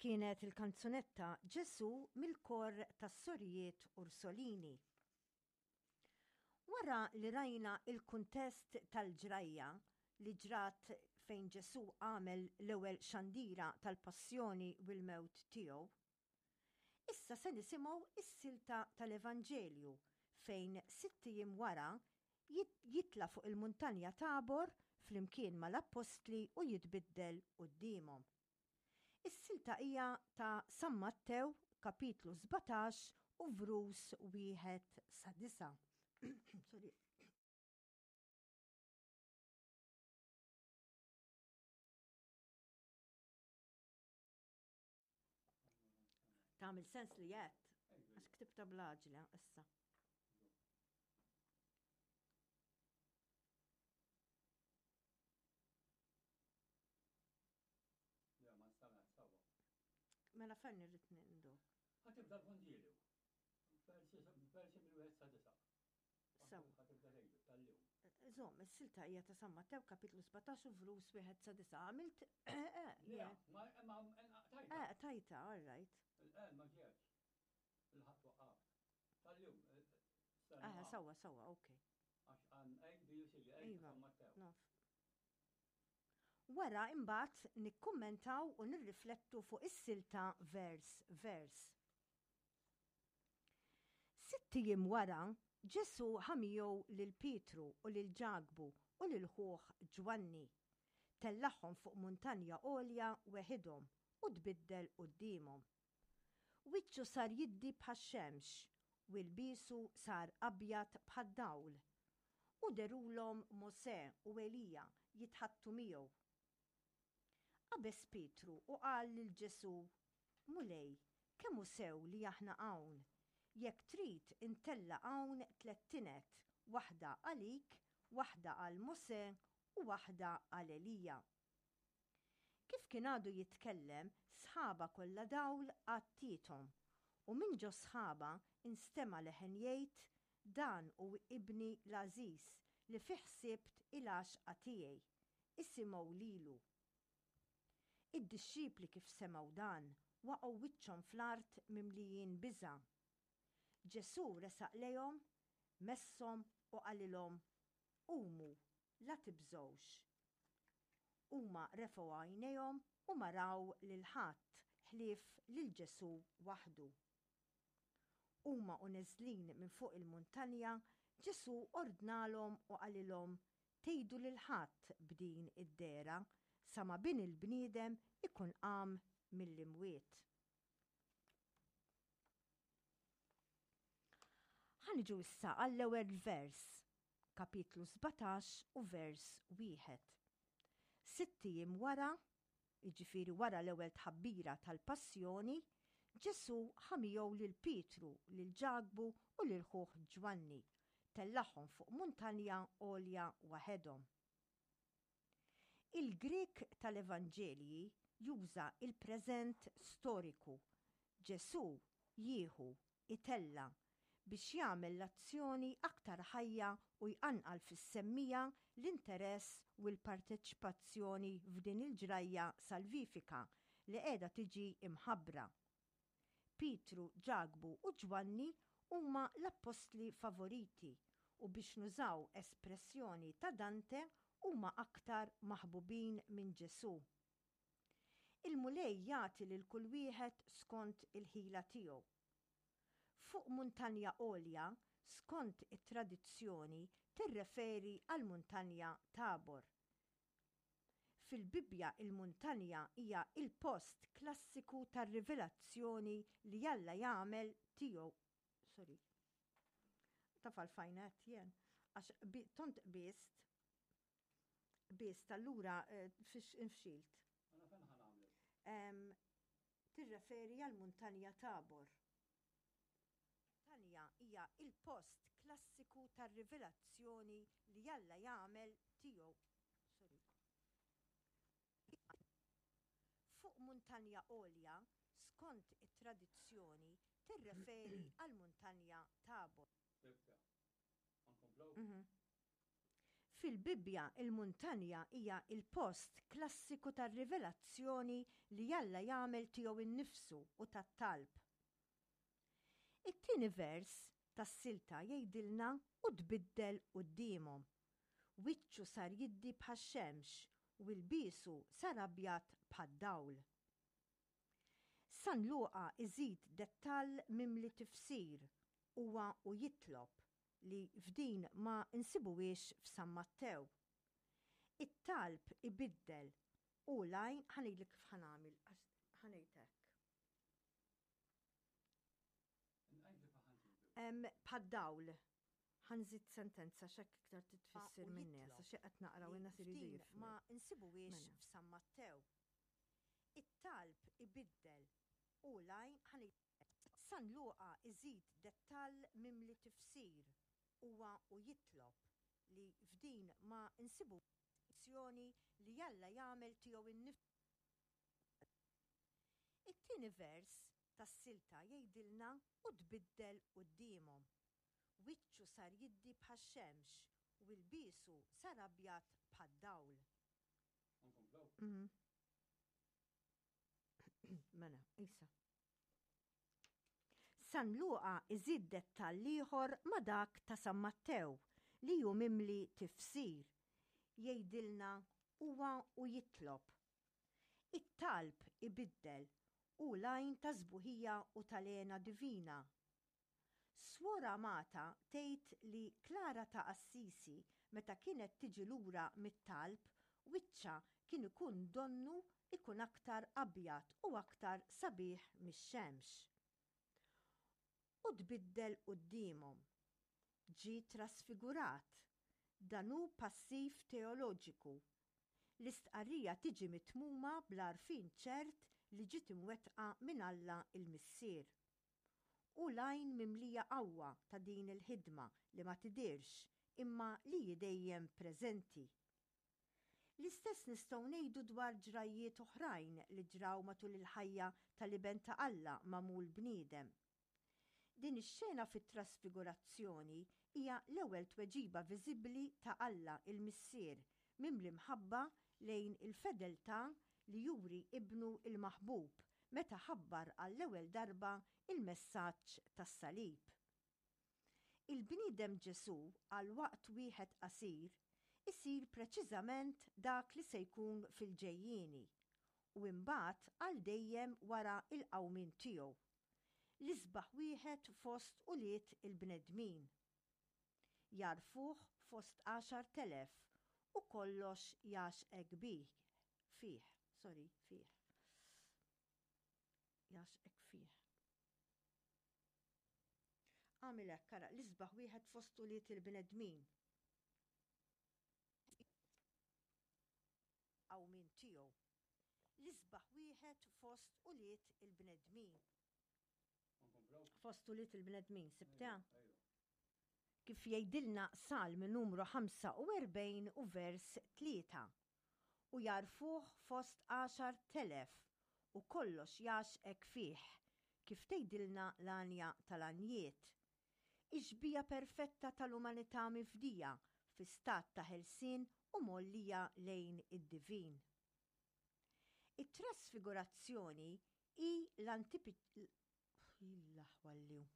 kienet il-kanzunetta Ġesù mill-kor tas-Sorijiet Ursolini. Wara li rajna il-kuntest tal-ġrajja li ġrat fejn Ġesù għamel l-ewwel xandira tal-passjoni u l-mewt tiegħu, issa se nisimgħu s-silta tal-Evanġelju fejn sitt ijiem wara jitla' fuq il-muntanja Tabor flimkien mal-appostli u jitbiddel quddiemhom. Is-silta hija ta' San Mattew kapitlu 17 u vrus wieħed sa disa'. Sorry. Tagħmel sens li jgħid. Għax ktibta bl-għaġla issa. Mela fejn irrid nindu? Ħatibda l-Vanġelju. Versi mill-wieħed sa disa'. Sew. Żomm, is-silta hija ta' San Mattew kapitlu 17 u vrus wieħed sa disa'. Għamilt eh, eh, ma tajta. Eh, tajta, all right. Il-qel ma ġietx. Il-ħadd waqqaft. Tal-jum. Eh, sawa, sawa, ok. Għax għan A, B u C, A iva, San Mattew. Naf. Wara imbagħad nikkummentaw u nirriflettu fuq is-silta vers vers. Sitt ijiem wara, Ġesù ħa miegħu lil Pietru u lil Ġakbu u lil ħuh Ġwanni. Tellagħhom fuq muntanja għolja weħidhom u tbiddel quddiemhom. Wiċċu sar jiddi bħax-xemx, u ilbiesu sar abjad bħad-dawl. U dherulhom Mosè u Elija jitħaddtu miegħu. Qabeż Pietru u qal lil Ġesù, Mulej, kemm hu sew li aħna hawn! Jekk trid intella' hawn tlett tined, waħda għalik, waħda għal Mosè u waħda għal Elija. Kif kien għadu jitkellem, sħaba kollha dawl għattiethom, u minn ġo sħaba nstema' leħen jgħid, Dan hu Ibni l-għażiż, li fih sibt il-għaxqa tiegħi. Isimgħu lilu. Id-dixxipli kif semgħu dan, waqgħu wiċċhom fl-art mimlijin biża'. Ġesù resaq lejhom, messhom u qalilhom, Qumu, la tibżgħux. Huma refgħu għajnejhom u ma raw lil ħadd ħlief lil Ġesù waħdu. Huma u neżlin minn fuq il-muntanja, Ġesù ordnalhom u qalilhom, Tgħidu lil ħadd b'din id-dehra, sa ma Bin il-bniedem ikun qam mill-imwiet. Ħa niġu issa għall-ewwel vers, kapitlu 17 u vers wieħed. Sitt ijiem wara, jiġifieri wara l-ewwel tħabbira tal-passjoni, Ġesù ħa miegħu lil Pietru, lil Ġakbu u lil ħuh Ġwanni, tellagħhom fuq muntanja għolja waħedhom. Il-Grieg tal-Evanġelji juża l-preżent storiku, Ġesù jieħu, itella', biex jagħmel l-azzjoni aktar ħajja u jqanqal fis-semmiegħa l-interess u l-parteċipazzjoni f'din il-ġrajja salvifika li qiegħda tiġi mħabbra. Pietru, Ġakbu u Ġwanni huma l-appostli favoriti u biex nużaw espressjoni ta' Dante huma aktar maħbubin minn Ġesù. Il-Mulej jagħti lil kull wieħed skont il-ħila tiegħu. Fuq muntanja għolja, skont it-tradizzjoni, tirreferi għall-muntanja Tabor. Fil-Bibbja il-muntanja hija il-post klassiku tar-rivelazzjoni li Alla jagħmel tiegħu. Sorry. Taf għalfejn għedt jien? Għax tont qbiżt Biss allura eh, fix infxilt. Mela fejn ħa nagħmlu? Tirreferi għal muntanja Tabor. Muntanja hija il-post klassiku tar-rivelazzjoni li Alla jagħmel tiegħu. Sorry. Fuq muntanja għolja, skont it-tradizzjoni, tirreferi għal muntanja Tabor. Nkomplu? Mhm. Fil-Bibbja il-muntanja hija l-post klassiku tar-rivelazzjoni li Alla jagħmel tiegħu nnifsu u tat-talb. It-tieni vers tas-silta jgħidilna u tbiddel quddiemhom. Wiċċu sar jiddi bħax-xemx u ilbiesu sar abjad bħad-dawl. San Luqa iżid dettall mimli tifsir huwa u jitlob, li f'din ma nsibuhiex f'San Mattew. It-talb ibiddel u l-għajn, ħa ngħidlek kif ħa nagħmel, għax ħa ngħid hekk. Bħad-dawl. Ħa nżid sentenza x'hekk iktar titfisser min-nies, għax hekk qed naqra u n-nies iridu jifhmu. Ma nsibuhiex mela. f'San Mattew. It-talb ibiddel u l-għajn, ħa ngħid. San Luqa iżid dettall mimli tifsir huwa u jitlob, li f'din ma nsibu azzjoni li Alla jagħmel tiegħu nnifsu. It-tieni vers tas-silta jgħidilna u tbiddel quddiemhom. Wiċċu sar jiddi bħax-xemx u ilbiesu sar abjad bħad-dawl. Nkomplu? Mela, isa. San Luqa iżid dettall ieħor ma' dak ta' San Mattew li hu mimli tifsir. Jgħidilna huwa u jitlob. It-talb ibiddel, hu l-għajn tas-sbuħija u tal-hena divina. Swor Amata tgħid li Klara ta' Assisi meta kienet tiġi lura mit-talb wiċċha kien ikun donnu ikun aktar abjad u aktar sabiħ mix-xemx. U tbiddel quddiemhom. Ġie trasfigurat. Dan hu passiv teoloġiku. L-istqarrija tiġi mitmuma bl-għarfien ċert li ġiet imwettqa minn Alla l-Missier. Hu l-għajn mimlija qawwa ta' din il-ħidma li ma tidhirx imma li hi dejjem preżenti. L-istess nistgħu ngħidu dwar ġrajjiet oħrajn li ġraw matul il-ħajja tal-Iben ta' Alla magħmul bniedem. Din ix-xena fit-Trasfigurazzjoni hija l-ewwel tweġiba viżibbli ta' Alla il-Missier mimli mħabba lejn il-fedeltà li juri Ibnu l-maħbub meta ħabbar għall-ewwel darba l-messaġġ tas-salib. Il-bniedem Ġesù għal waqt wieħed qasir isir preċiżament dak li se jkun fil-ġejjieni u imbagħad għal dejjem wara l-qawmien tiegħu, l-isbaħ wieħed fost ulied il-bnedmin. Jagħrfuh fost 10,000 u kollox jgħaxqek bih, fih, sorry, fih. Jgħaxqek fih. Agħmel hekk, ara, l-isbaħ wieħed fost ulied il-bnedmin. Qawmien tiegħu. L-isbaħ wieħed fost ulied il-bnedmin. Fost ulied il-bnedmin, sibtha? Kif jgħidilna Salm numru 45 u vers 3. U jagħrfuh fost 10,000 u kollox jgħaxqek fih, kif tgħidilna l-għanja tal-għanjiet. Ix-xbieha perfetta tal-umanità mifdija fi stat ta' ħelsien u mgħollija lejn id-divin. It-trasfigurazzjoni hi l-antipi l-aħwa l-jum.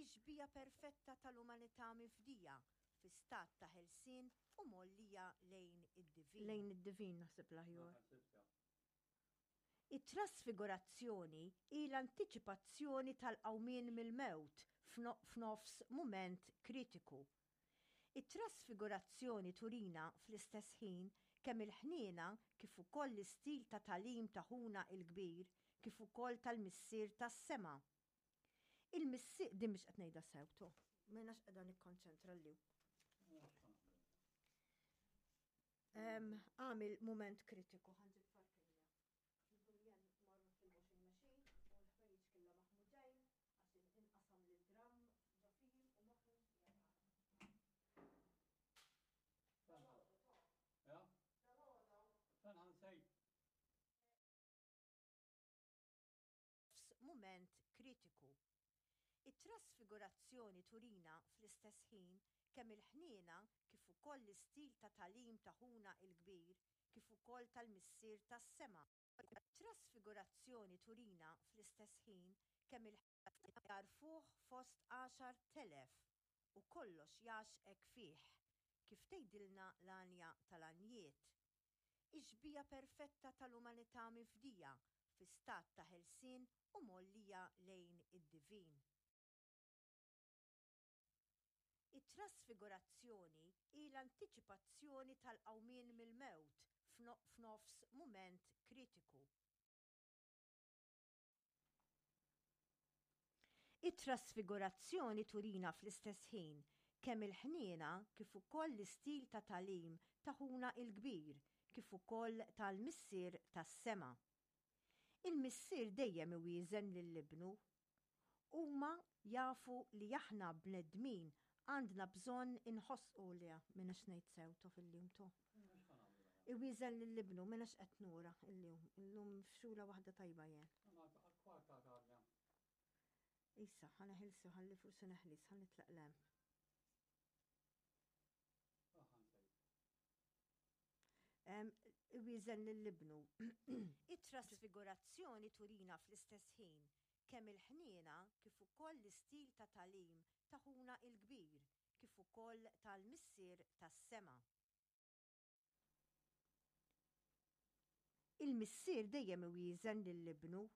Ix-xbieha perfetta tal-umanità mifdija fi stat ta' ħelsien u mgħollija lejn id-divin. Lejn id-divin naħseb l-aħjar. It-trasfigurazzjoni hi l-antiċipazzjoni tal-qawmien mill-mewt f'nofs mument kritiku. It-trasfigurazzjoni turina fl-istess ħin kemm il-ħniena kif ukoll l-istil ta' tagħlim ta' Ħuna l-Kbir kif ukoll tal-Missier tas-Sema. Il-Missier, din mhix qed ngħidha sew, to. M'jienx qiegħda nikkonċentra l Għamil mument kritiku, ħa nġib farkinja. Julian marru fil-washing machine u l-ħwejjeġ killa maħmuġejn għax inqasam lil dram ġo fihim u moħħi Ja? Fejn nsejt? F'mument kritiku. It-trasfigurazzjoni turina fl-istess ħin kemm il-ħniena kif ukoll l-istil ta' tagħlim ta' Ħuna l-Kbir kif ukoll tal-Missier tas-Sema. It-trasfigurazzjoni turina fl-istess ħin kemm il. Jagħrfuh fost 10,000 u kollox jgħaxxqek fih, kif tgħidilna l-Għanja tal-Għanjiet. Ix-xbieha perfetta tal-umanità mifdija fi stat ta' ħelsien u mgħollija lejn id-divin. It-trasfigurazzjoni hi l-antiċipazzjoni tal-qawmien mill-mewt f'nofs mument kritiku. It-trasfigurazzjoni turina fl-istess ħin kemm il-ħniena kif ukoll l-istil ta' tagħlim ta' Ħuna l-Kbir kif ukoll tal-Missier tas-Sema. Il-Missier dejjem iwieżen lil Ibnu. Huma jafu li aħna bnedmin għandna bżonn inħossu le m'iniex ngħid sew to fil-jum to. Iwieżen lil ibnu m'iniex qed nura illum. Illum fxula waħda tajba jien. Issa, ħa neħilsu ħalli forsi neħlis, ħa nitlaq lem. Iwieżen lil ibnu. It-trasfigurazzjoni turina fl-istess ħin kemm il-ħniena kif ukoll l-istil ta' tagħlim ta' Ħuna l-Kbir kif ukoll tal-Missier tas-Sema. Il-Missier dejjem iwieżen lil Ibnu.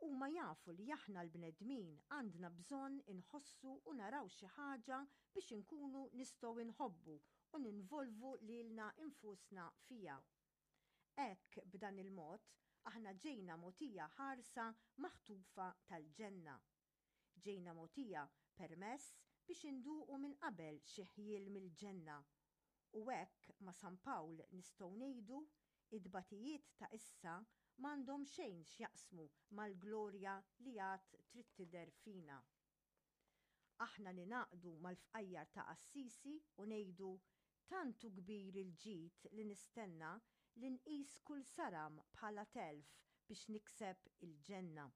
Huma jafu li aħna l-bnedmin għandna bżonn inħossu u naraw xi ħaġa biex inkunu nistgħu nħobbu u ninvolvu lilna nfusna fiha. Hekk, b'dan il-mod, aħna ġejna mogħtija ħarsa maħtufa tal-ġenna. Ġejna mogħtija permess biex induqu minn qabel xi ħjiel mill-ġenna. U hekk ma' San Pawl nistgħu ngħidu, It-tbatijiet ta' issa m'għandhom xejn x'jaqsmu mal-glorja li għad trid tidher fina. Aħna ningħaqdu mal-fqajjar ta' Assisi u ngħidu, Tant hu kbir il-ġid li nistenna li nqis kull saram bħala telf biex nikseb il-ġenna.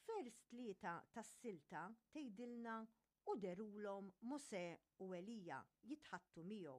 F'vers 3 tas-silta tgħidilna u dherulhom Mosè u Elija jitħaddtu miegħu.